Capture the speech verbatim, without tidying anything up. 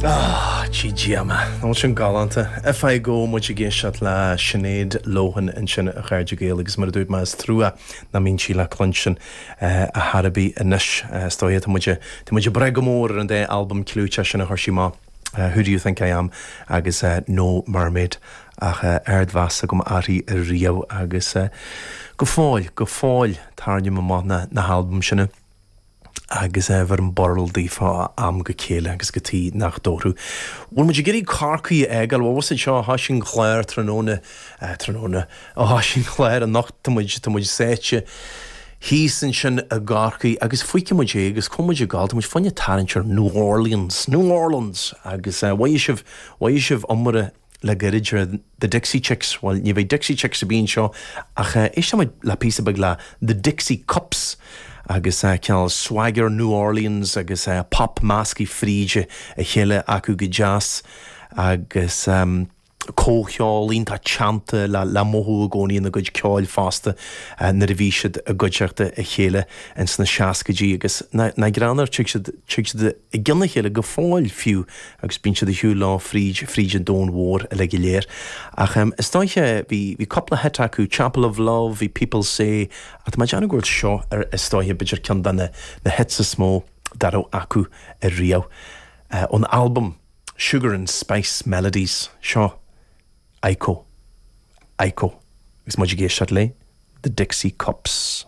Ah, díoma. Nó sin galánta. If I Go muid ag éisteacht le Sinéad Lohan ansin a chairde Gael agus mar a dúirt mé is trua nach mbíonn sí le cluinstin a thairbhí anois is dóigh tá muid tá muid ag brath go mór ar an dá albam clúiteach sin a chuir sí amach. Uh, Who do you think I am agus uh, No Mermaid ach uh, ardmheas agam uirthi ariamh agus uh, go fóill go fóill tarraingím amach na, na halbaim sin agus é bhar an borl daofa am go chéile agus go tí nach dóú. Bhfuil muid ag iarraidh Corcaigh a fhágáil bhá seo há sin chléir tráthnóna tráthnóna ó há sin chléir an nacht muid tá muid sáite. Thíos ansin i gCorcaigh agus fuice muid é agus com muid gáil muid fanne tarraingt New Orleans, New Orleans agus uh, sibh sibh iomaire le gairid the Dixie Chicks, well ní bheidh Dixie Chicks a bíon seo ach uh, éist le píosa beag le the Dixie Cups agus uh, cineál swagger New Orleans agus uh, pop measctha fríd a chéile acu go deas agus um, comhcheol iontach teannta le le mothú i gcónaí na gcuid ceoil fosta uh, nuair a bhí siad i gcuideachta a chéile in sna seascaidí agus na, na greanar tig siad i gcionn a chéile go fóill fiú agus bíonn siad a shiúl lá fríd fríd an domhan mhór le go léir. Ach um, is dóiche bhí bhí cúpla hit acu Chapel of Love, bhí People Say a má dean bhfuil seo ar is dóiche b'fhéidir ceann de na na hits is mó dá raibh acu ariamh. Uh, ón album Sugar and Spice Melodies seo Iko Iko agus muid ag éisteacht le The Dixie Cups.